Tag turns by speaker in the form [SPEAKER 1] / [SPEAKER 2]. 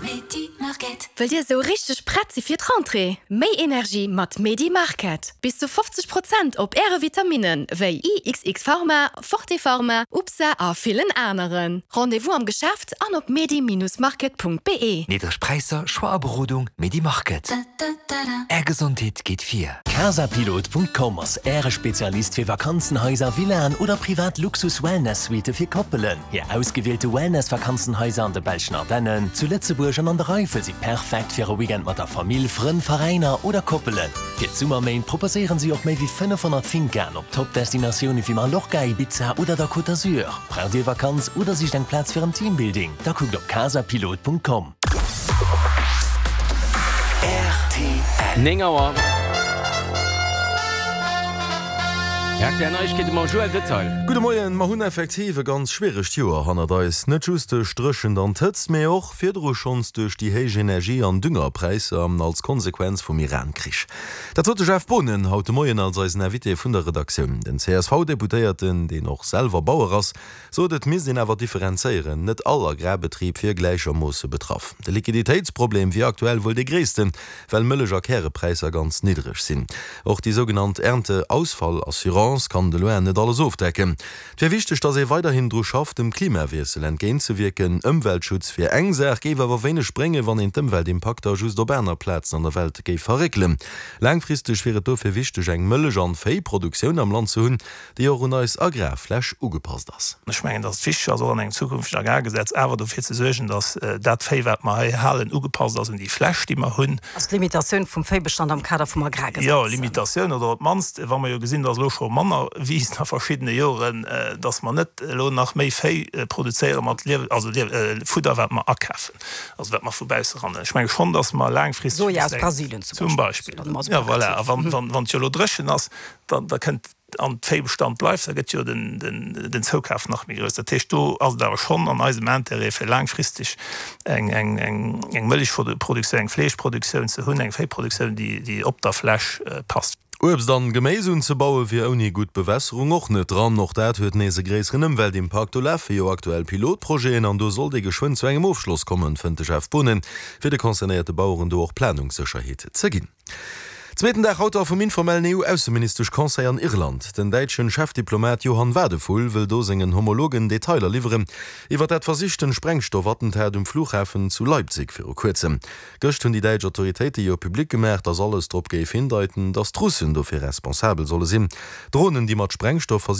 [SPEAKER 1] Wëllt Dir esou richteg prett si fir d'Rentrée? Méi Energie mat Medi Market! Bis zu 50 Prozent op Äre Vitaminnen wéi IXX Pharma, Forte Pharma, UPSA a villen aneren. Rendez-vous am Geschäft an op medi-market.be.
[SPEAKER 2] Niddreg Präisser, Choix a Berodung, Medi Market. Är Gesondheet geet vir.
[SPEAKER 3] Casapilot.com ass Äre Spezialist fir Vakanzenhaiser, Villaen oder privat Luxus-Wellness-Suitte fir Koppelen. Hir ausgewielte Wellness-Vakanzenhaiser an de belschen Ardennen, zu Lëtzebuerg an an der Eifel si perfekt fir e Weekend mat der Famill, Frënn, Veräiner oder Koppelen. Fir d'Summerméint proposéieren si och méi wéi 500 Fincaen op Top-Destinatioune wéi Mallorca, Ibiza oder der Côte d'Azur. Braucht Dir Vakanz oder sicht eng Plaz fir en Teambuilding? Da kuckt op casapilot.com.
[SPEAKER 4] Rtl. 9 Auer. Rtl Neiegkeete mam Joël Detail.
[SPEAKER 5] Gudde Moien. Mer hunn effektiv e ganz schwieregt Joer hannert eis. Net just duerch d'Dréchent an d'Hëtzt, mee och virdru schonns duerch déi héich Energie an Düngerpräisser als Konsequenz vum Iran-Krich. Dat sot de Jeff Boonen haut de Moien als eisen Invité vun der Redaktioun. Den CSV-Deputéierten, deen och selwer Bauer ass, sot et misst een awer differenzéieren, net all Agrarbetrib wier gläichermoosse betraff. De Liquiditéitsproblem wier aktuell wuel dee gréissten, well Mëllech a Kärepräisser ganz niddreg sinn. Och déi sougenannt Ernteausfallassurance kann de loin net alles ofdecken. Et wier wichteg, datt ee weiderhin dru schafft, dem Klimawiessel entgéintzewierken. Ëmweltschutz wier eng Saach, géif awer wéineg bréngen, wann een d'Ëmweltimpakter just op aner Plazen an der Welt géif verréckelen. Laangfristeg wier et dofir wichteg, eng Mëllech an Véiproduktioun am Land ze hunn, déi och un eis Agrarfläch ugepasst ass.
[SPEAKER 6] Ech mengen, dass et wichteg ass, och an engem zukünftegen Agrargesetz awer dofir ze suergen, dass dat Véi, wat mer hei halen, ugepasst ass un déi Fläch, déi mer hunn.
[SPEAKER 7] Also d'Limitatioun vum Véibestand am Kader vum Agrargesetz.
[SPEAKER 6] Jo, Limitatioun oder op d'mannst, wa mer jo gesinn, dass elo scho manner wiisst a verschiddene Joren, dass mer net elo nach méi Véi produzéiere mat Liew-, also Fudder, wat mer akafen, also wat mer vu bausse ran. Ech menge schonn, dass mer laangfristeg.
[SPEAKER 7] Soja aus Brasilien
[SPEAKER 6] zum Beispill. Zum Beispill. Jo, voilà. A wann et jo elo dréchen ass, da kënnt an d'Véibestand bleift, da gëtt jo den Zoukaf nach méi grouss. Dat heescht, do ass et awer schonn an eisem Intérêt, fir laangfristeg eng Mëllechproduktioun, eng Fleeschproduktioun ze hunn, eng Véiproduktioun, déi op der Fläch passt.
[SPEAKER 5] Uebst an Geméis unzebaue wier ouni gutt Bewässerung och net dran. Och dat huet nees e gréisseren Ëmweltimpakt. Do lafe jo aktuell Pilotprojeten an do sollt ee geschwënn zu engem Ofschloss kommen, fënnt de Jeff Boonen, fir de concernéierte Baueren do och Planungssécherheet ze ginn. Zweeten Dag haut da vum informellen EU-Ausseministesch-Conseil an Irland. Den däitschen Chefdiplomat Johann Wadephul wëll do sengen Homologen Detailer liwweren iwwer dat versichten Sprengstoffattentat um Flughafen zu Leipzig viru kuerzem. Gëscht hunn déi däitsch Autoritéite jo public gemaach, datt alles drop géif hindeiten, datt d'Russen dofir responsabel solle sinn. Dronen, déi mat Sprengstoff.